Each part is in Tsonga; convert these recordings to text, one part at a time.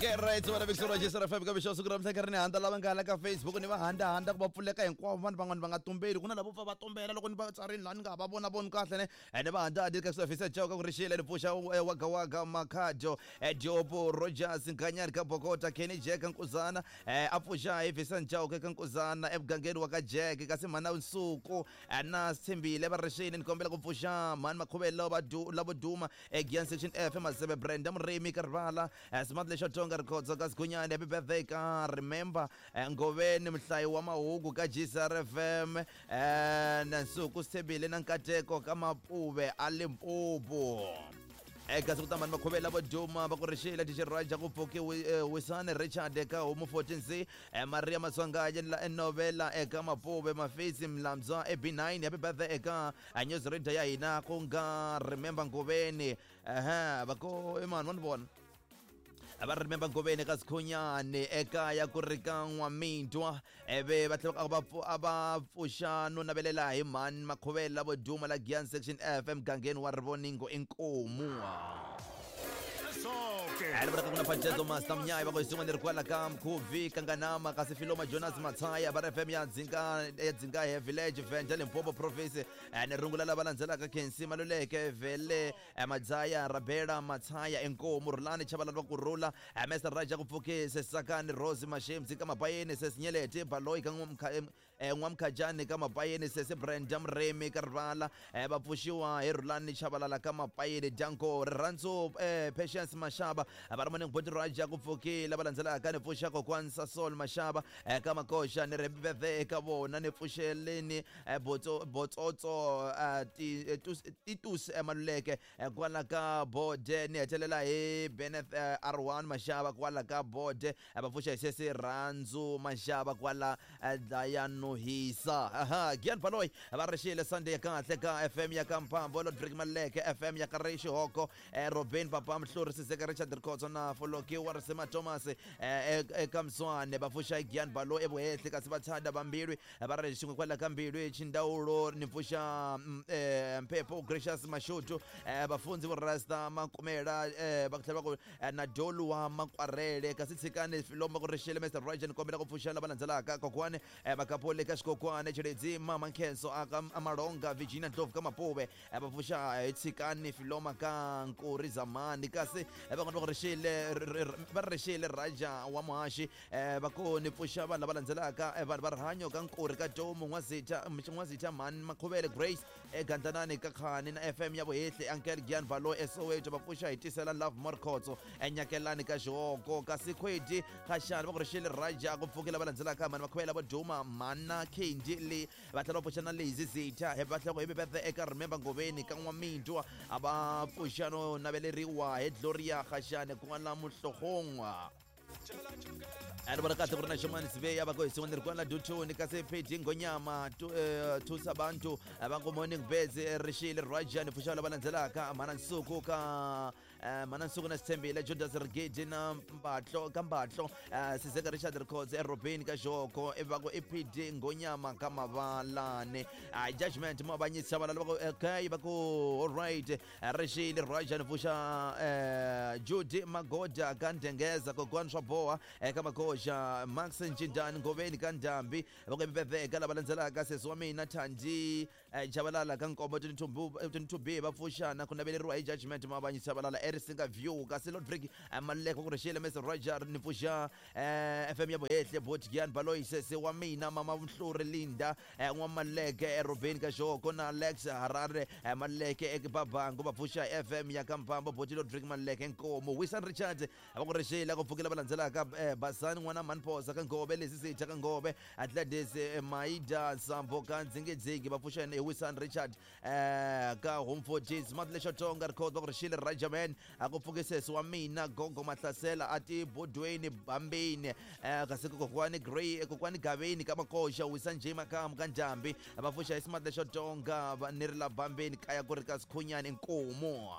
Okay, right, so vana Victor Rogers FM ka mixo siku ra mhla ri ni handa lava nga hala ka Facebook ni va handa handa ku va pfuleka hinkwavo vanhu van'wana va nga tumbeli ku na lavo pfa va tumbela loko ni va tsarini laha ni nga ha va vona voni kahle ne ene va handa handi ka swafisa chauka ku ri xile ni pfuxa waga waga makhajo Diopo Rogers Nkanyani ka Bokota Kenny Jack Nkuzana a pfuxa hi Vincent Chauke ka Nkuzana emugangeni wa ka Jack kasi mhana Nsuku na Sithembile va ri xini ni kombela ku pfuxa mhani Makhuvelo lavo duma eGian Section F Masebe Brenda Murimi ka rivala Smart lexo tonga Rikhotso ka Sigunyani happy birthday ka Remember Ngoveni muhlayi wa mahungu ka GCR FM na Nsuku Sithembile na Nkateko ka Mapuve a Limpopo. Eka siku tamani makhuvela vo duma va ku ri xile tixirhaja ku pfuki Wisani Richard eka Homu 14C Maria Maswangaye la enovela eka Mapuve Mafisi Mlamzwa e B9 happy birthday eka news reader ya hina ku nga Remember Ngoveni va ku i mani wa ni vona va Remember Ngoveni ka Sikhunyani ekaya ku ri ka N'wamintwa eve va tlhela a va pfuxa no navelela hi mhani Makhuvela vo duma la Giyani Section F emugangeni wa Rivoningo inkomu. Ri vula ka ku na Pacheco Master Mnyayi va ku hi swin'wana ri kwala ka Mkhuvi Kanganama kasi Filoma Jonas Matsaya va ri FM ya Dzinga ya Dzingahe Village Venda Limpopo Province ni rungula lava landzelaka Khensi Maluleke Vele Madzaya Rabela Matsaya Inkomu Rhulani Chabalala va Kurhula Mr Raja ku pfukise Sakani Rose Mashemzi ka Mabayeni Sesinyeleti Baloyi ka N'wamkhajani ka Mabayeni Sesi Brenda Murimi ka Rivala va pfuxiwa hi Rhulani Chabalala ka Mabayeni Danko Rirhandzu Patience Mashaba va ri morning Boti Raja ku pfukile va landzelaka ni pfuxa kokwani Sasol Mashaba ka Makoxa ni ri birthday eka vona ni pfuxeleni Botsotso Titus Maluleke kwala ka Bode ni hetelela hi Beneth R1 Mashaba kwala ka Bode va pfuxa hi Sesi Rhandzu Mashaba kwala Dlayanuhisa. Aha, Gian Baloyi va ri xile Sunday ya kahle ka FM ya ka Mphambo Lodrick Maluleke FM ya ka ri Xihoko Robin Papa Mhluri Sizeka Richard Rikhotso na Foloki wa Risima Thomas eka Mswane va pfuxa hi Gian Baloyi evuhehli kasi va thanda vambilwi va ri xin'we kwala ka Mbilwi Chindawulo ni pfuxa Mphepho Gracious Mashudu vafundzi vo Rasta Makumela va tlhela va ku na Dolu wa Makwarele kasi tshikani Filomba ku ri xile Mr Roger ni kombela ku pfuxa lava landzelaka kokwani Makapole ka Xikokwani Chiledzi Mama Nkhenso aka Malonga Virginia Ndlovu ka Mapuve va pfuxa hi tshikani Filoma ka Nkuri Zamani kasi van'wana va ku ri xile va ri xile Raja wa Muhaxi va ku ni pfuxa vanhu lava landzelaka vanhu va rihanyo ka Nkuri ka Tomu N'wazitha Mhani Makhuvele Grace eGandlanani ka Khani na FM ya Vuhehli Uncle Gian Balo eSoweto va pfuxa hi tisela Love Morkhotso eNyakelani ka Xihoko kasi Khwedi Khashani va ku ri xile Raja ku pfukela va landzelaka Mhani Makhuvele vo duma Mhana Kendi le va tlhela va pfuxa na Lazy Zitha va tlhela ku happy birthday eka Remember Ngoveni ka N'wamintwa a va pfuxa no naveleriwa hi Gloria Khashani kwala Muhlohongwa. A ri vona kahle ku ri na xin'wana siveya va ku hi xin'wana ri kwala Duthuni kasi PD Ngonyama Thusa Bantu va ku morning birds rixile Raja ni pfuxa lava landzelaka Mhana Nsuku ka Mhana Nsuku na Sithembile Judas Rigidi na Mbatlo ka Mbatlo Sizeka Richard Rikhotse eRobeni ka Xoko va ku i PD Ngonyama ka Mavalane Judgment Mavanyisi Chabalala va ku okay va ku all right Rixile Raja ni pfuxa Judy Magoda ka Ndengeza kokwani swa boha eka Magoxa Max Ncindani Ngoveni ka Ndhambi va ku mbeve eka lava landzelaka sesi wa mina Thandi Chabalala ka Nkombo 22B va pfuxana ku naveleriwa hi Judgment Mavanyi Chabalala eRisinga View kasi Lodrick Maluleke ku rixile Mr Roger ni pfuxa FM ya Vuhehli Bot Gian Baloyi sesi wa mina Mama Mhluri Linda N'wamaleke eRobeni ka Xihoko na Alex Harare Maluleke eKibabangu va pfuxa FM ya ka Mphambo Boti Lodrick Maluleke Nkomo Wisan Richards va ku rixile ku pfukela va landzelaka Basani n'wana Manphosa ka Ngove Lesi Sitha ka Ngove Atlantis Maida Sambo ka Dzingidzingi va pfuxa hi Wisan Richard ka Home 14 Smart Lexo Tonga Record va ku rixile Rajaman a ku pfuke sesi wa mina Gogo Mahlasela a ti bodweni Bambini kasi kokwani Grey kokwani Gaveni ka Makoxa Wisan J Makamu ka Ndhambi va pfuxa hi Smart Lexo Tonga ni ri la Bambini kaya ku ri ka Sikhunyani Nkomo.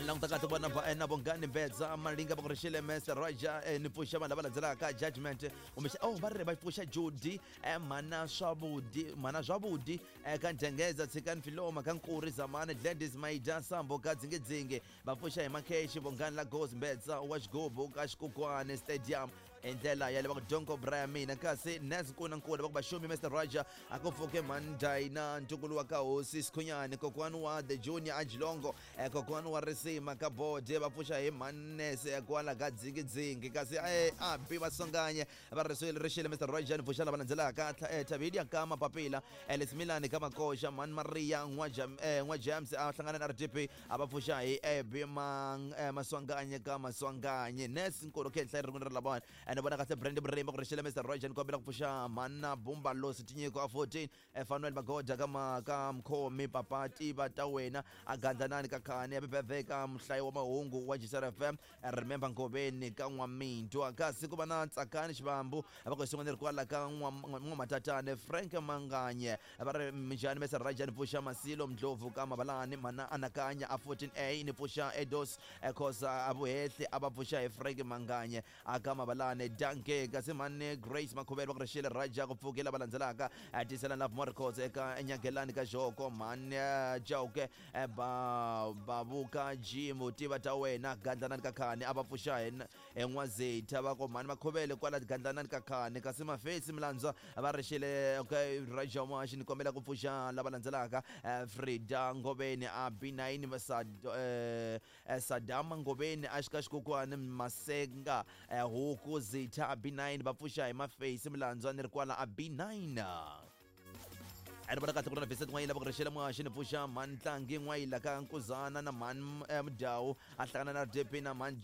Languta kahle vona va na Bongani Mbedza Malinga va ku rixile Mr Roger, ni pfuxa vanhu lava landzelaka judgment kumbe oh va ri va pfuxa Judy, mana Swavudi, mana Zwavudi, ka Ndlengeza Tshikani Filoma ka Nkuri Zamani Gladys Maida Sambo ka Dzingedzinge va pfuxa hi Makheshi Bongani Lagos Mbedza wa Xigubu ka Xikukwane Stadium hi ndlela ya le va ku Donko Brian mina kasi Nes Nkuna Nkuna va ku Vaxumi Mr Roger a ku pfuke Mandayina ntukulu wa ka hosi Sikhunyani kokwani wa The Junior Ajilongo, kokwani wa Risima ka Bode va pfuxa hi Manese kwala ka Dzingidzingi kasi a bi Vasonganye va ri rixile Mr Roger ni pfuxa lava landzelaka Thavidia ka Mapapila, Lesimilani ka Makoxa Man Maria N'wa James a hlangana na RDP a va pfuxa hi Ebi Maswanganye ka Maswanganye Nes Nkulu khenhla ri ri lavawani ni vona kahle Brand Murimi ku rixile Mr Roger ni kombela ku pfuxa Mana Bumba Losi Tinyiko a 14, Fanuel Magoda ka ka Mkhomi Papa Tiva ta wena a Gandlanani ka Khani happy birthday ka muhlayi wa mahungu wa GCR FM, Remember Ngoveni ka N'wamintwa kasi ku va na Tsakani Xivambu va ku xin'wana ri kwala ka N'wamatatane Frank Manganye va ri minjhani Mr Roger ni pfuxa Masilo Ndlovu ka Mabalani Mana Anakanya a 14A ni pfuxa Edos Khosa a Vuhehli a va pfuxa hi Frank Manganye a ka Mabalani Danke kasi mani Grace Makhuvele va ku rixile Raja ku pfuke lava landzelaka tisela Love More Records eka Nyagelani ka Joko mani Chauke Bavuka Jim tiva ta wena Gandlanani ka Khani a va pfuxa hi N'wazetha va ku mani Makhuvele kwala Gandlanani ka Khani kasi Mafesi Milandzwa va rixile okay Raja Mashi ni kombela ku pfuxa lava landzelaka Frida Ngoveni a B9 Sadama Ngoveni a xika Xikokwani Masenga Huku Zitha a B9 va pfuxa hi Mafesi Milandzwa ni ri kwala a B9. A ni vona kahle ku ri na Vincent N'wayila va ku rixela muhaxi ni pfuxa Mantlangi N'wayila ka Nkuzana na Man Mudyawu a hlangana na RDP na Man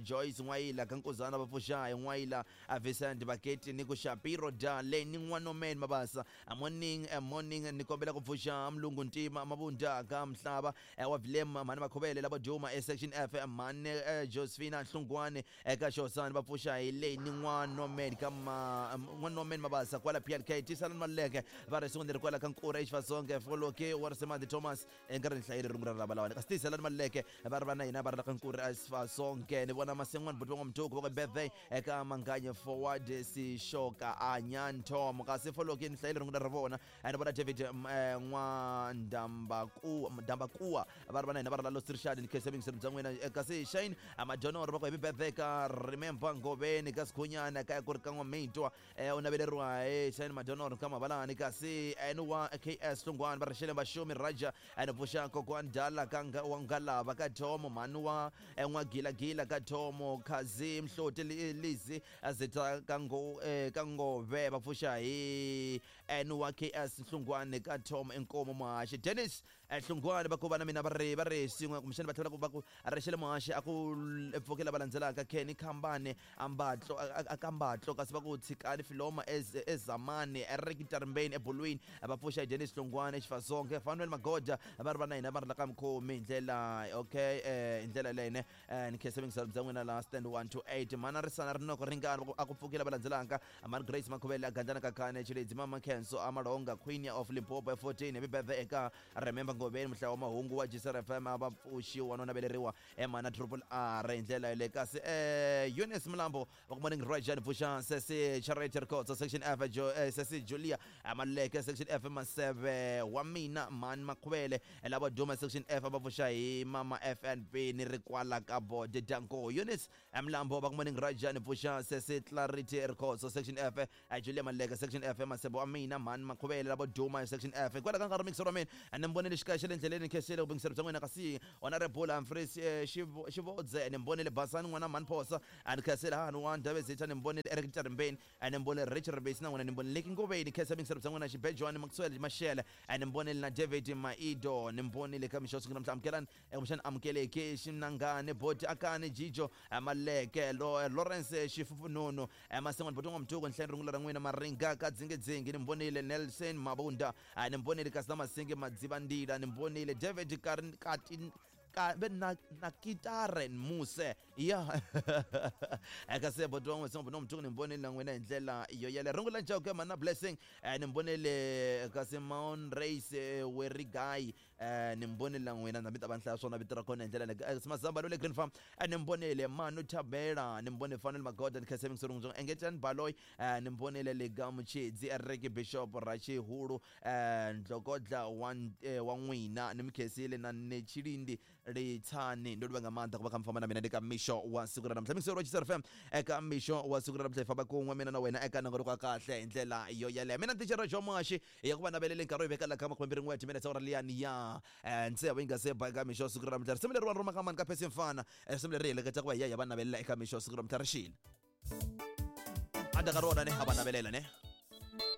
Joyce N'wayila ka Nkuzana va pfuxa hi N'wayila Vincent Baketi ni ku Shapiro da Leni N'wanomeni Mabasa. Morning, morning ni kombela ku pfuxa Mlungu Ntima Mabunda ka Mhlava wa Vilem Mhani Makhuvele lava Duma e section F Mhani Josephina Hlungwani eka Xosani va pfuxa hi Leni N'wanomeni ka N'wanomeni Mabasa kwala PLK Tisalani Maluleke va ri swin'wana ri kwala ka Nkura Exivasonge Foloke wa Risemadi Thomas enkarhini hlayile rungula ra lava lawani kasi Tisalani Maluleke va ri va na hina va ri la ka Nkura Exivasonge ni vona Masen'wana buti va N'wamthuku va ku birthday eka Manganye Forward Sixoka Anyantom kasi Foloke ni hlayile rungula ra vona ni vona David N'wandambakuwa va ri va na hina va ri la Lost Richard ni khensa mingiselo bya n'wina kasi Shane Madonoro va ku happy birthday ka Remember Ngoveni ka Sikhunyana kaya ku ri ka N'wamitwa u naveleriwa hi Shane Madonoro ka Mabalani kasi N wa KS Hlungwani va rixele Vaxumi Raja ni pfuxa Kokwani Dala ka wa Ngalava ka Thomo mhani wa N'wagilagila ka Thomo Khazi Mhloti Lizi Zita ka ka Ngove va pfuxa hi N wa KS Hlungwani ka Tom Inkomo Muhaxi Dennis Hlungwani va ku va na mina va ri swin'we kumbexana va tlhela va ku rixele Muhaxi a ku pfukela va landzelaka Kenny Khambane Ambatlo a ka Mbatlo kasi va ku Tshikani Filoma Ezamani Eric Tarimbeni eBolweni va pfuxa hi Dennis Hlungwani Exifasonke Fanuel Magoda va ri va na hina va ri la ka Mkhomi hi ndlela okay hi ndlela leyinene ni khensa mingiselo bya n'wina la stand 1 to 8 mana risana rinoko ringana a ku pfukela va landzelaka Mani Grace Makhuvele a Gandlana ka Khane Chiledzi Mama Khenso Amalonga Queen of Limpopo 14 happy birthday eka Remember Ngoveni muhlayi wa mahungu wa GCR FM a va pfuxiwa no naveleriwa Mana Triple R hi ndlela yaleyo kasi Eunice Mlambo va ku morning Rajan pfuxa Sesi Charity Records section F Sesi Julia Maluleke section F Maseve wa mina Mani Makhuvele lava duma section F va pfuxa hi Mama FNB ni ri kwala ka Bode Danko Eunice Mlambo va ku morning Rajan pfuxa Sesi Clarity Records section F Julia Maluleke section F Masebe wa mina Mani Makhuvele lava duma section F kwala ka nkarhi mixer wa mina ni mbonile xikaya xa le ndleleni khensile ku bingiselo bya n'wina kasi Honorable Humphreys Xivodze ni mbonile Basani n'wana Mani Phosa a ni khensile hani wa Ndhavezitha ni mbonile Eric Tarimbeni ni mbonile Richard Rebesi na n'wina ni mbonile Leki Ngoveni khensa bingiselo bya n'wina Xibejwani Maxwell Mashele ni mbonile na David Maido ni mbonile ka mixo sungula mhla amukelani kumbexana amukeleki Xinangani Boti Akani Jijo Maleke Lawrence Xifufununu Masen'wana Boti N'wamtuku nhleni rungula ra n'wina Maringa ka Dzingedzingi ni mbonile Nelson Mabunda ni mbonile kasi na Masingi Madzivandila ni mbonile David Kati ve na Kitare Muse ya eka se Boti wa N'wasongo Boti N'wamtuku ni mbonile na n'wina hi ndlela yo yele rungula Chauke Mana Blessing ni mbonile kasi Maon Race Werigai Ni mi vonile n'wina na mi ta va ni hlaya swona vito ra kona hi ndlela leyi. Mazamba le Green Farm, ni mi vonile Manu Thabela, ni mi vone Fanel Magoda, ni khensa mingisero n'wintsongo Engetani Baloyi, ni mi vonile Lega Muchedzi, Eric Bishop Rachihulu, Ndlokodla wa wa n'wina, ni mi khensile na Netshilindi Litsani. Ndo livha nga maanḓa ku va kha mi famba na mina ndi ka mixo wa siku ra namuntlha. Mingisero wa Chisa FM eka mixo wa siku ra namuntlha, hi famba kun'we mina na wena eka nongonoko wa kahle hi ndlela yo yeleyo. Mina Thichara Joe Moashi ya ku va navelele nkarhi wo yi veka la ka 21 timinetse awara liyani ya tsevu yi nga se ba eka mixo wa siku ra namuntlha. Risimu leriwani ro maka mani ka Percy Mfana, risimu leri hi heleketa ku va hi ya hi ya va navelela eka mixo wa siku ra namuntlha. Ri xile a ka rona ne a va navelela ne.